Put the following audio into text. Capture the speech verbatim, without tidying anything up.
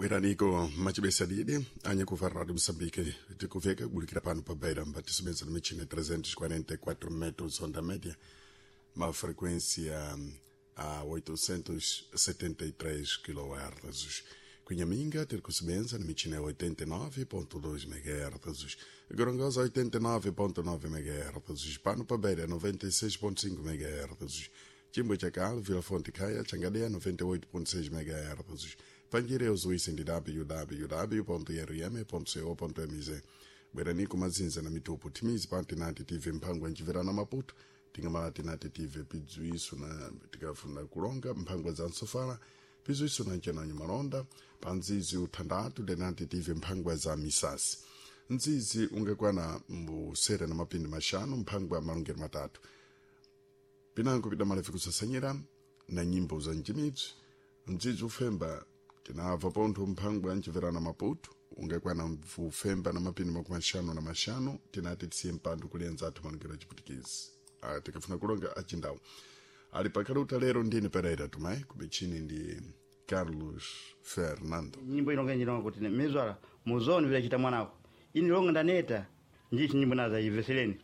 Bweraniko machibesa didi anyakuva Rádio Moçambique tikuveka kubulikira pano pa Beira mbatisibeza na michina trezentos e quarenta e quatro metros onda média, uma frequência a oitocentos e setenta e três quilohertz. Cunhaminga terkusebenza na michina oitenta e nove ponto dois megahertz, Gorongosa oitenta e nove ponto nove megahertz, pano pa Beira noventa e seis ponto cinco megahertz, Chimbo Chakal, Vila Fonte Caia, Changadea noventa e oito ponto seis megahertz, Panjireus uisi ndi w w w ponto r m ponto co ponto m z. Bweraniku mazinza na mitupu timizi pa tinati T V mphangwa nchiverana Maputo, tingamala tinati T V pidziwiso na tikafuna kulonga mphangwa za nsofala pidziwiso na nchenanyo malonda pa nzizi uthandatu denati T V mphangwa za misasi nzizi ungakwana mbusere na mapindi mashanu mphangwa malongero matatu pinango pidamalevi kusasanyira na nyimbo za njimidzi mdzidzi ufemba tinabva pontho mphangwa nchiverana Maputo ungakwana ufemba na mapindi makumi axanu na maxanu. Tinati tisiye mpando kulienza athu malongero achiputikizi. Ah, tikafuna kulonga achindawu ali pakhaluta lero ndine Pereira Tumai, kumichini ndi Carlos Fernando. Nyimbo ilonga njilonga kuti mizwala muzoni vile chita mwanako ini longa ndaneta njichi nyimbo naza iveseleni.